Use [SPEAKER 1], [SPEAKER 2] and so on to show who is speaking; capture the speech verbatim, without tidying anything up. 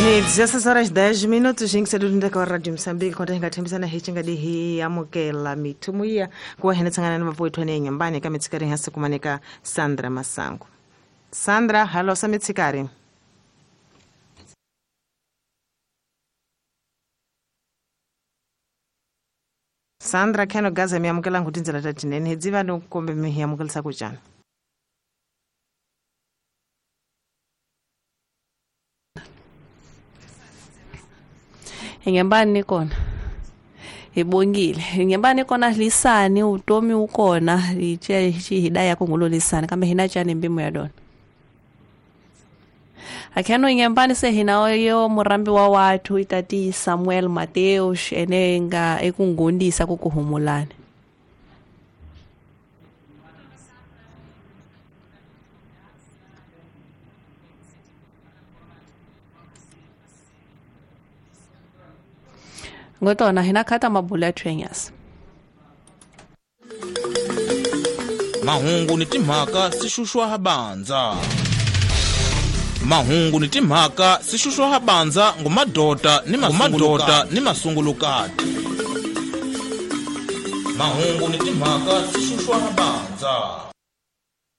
[SPEAKER 1] Ni dezesseis horas dez minutos yingiselweni ka Radio Mozambique konta hi nga tshembisana hi xingadi hi amukela mithumu ya ku wa hina tshangana na mavoithwane enyambani ka mitshikari hansi kumaneka Sandra Masango. Sandra, halo sa mitshikari. Sandra kheno gaza mi amukela ngu tindzela ta tinene hi dziva no kombe mi hi amukelisa ku njhani.
[SPEAKER 2] Ingembani kona ibongile ingembani kona lisani utomi ukona iche hidaya kungulo lisani kambe hina chani mbimu ya dona akheno ingembani se hina yo murambi wa watu itati Samuel Mateus enenga ekungundisa kukuhumulana ngotona hina khata mabula trainers
[SPEAKER 3] mahungu ni timhaka sixuxwa habanza mahungu ni timhaka sixuxwa habanza ngumadota ni mamadota ni masungulukati mahungu ni timhaka sixuxwa habanza.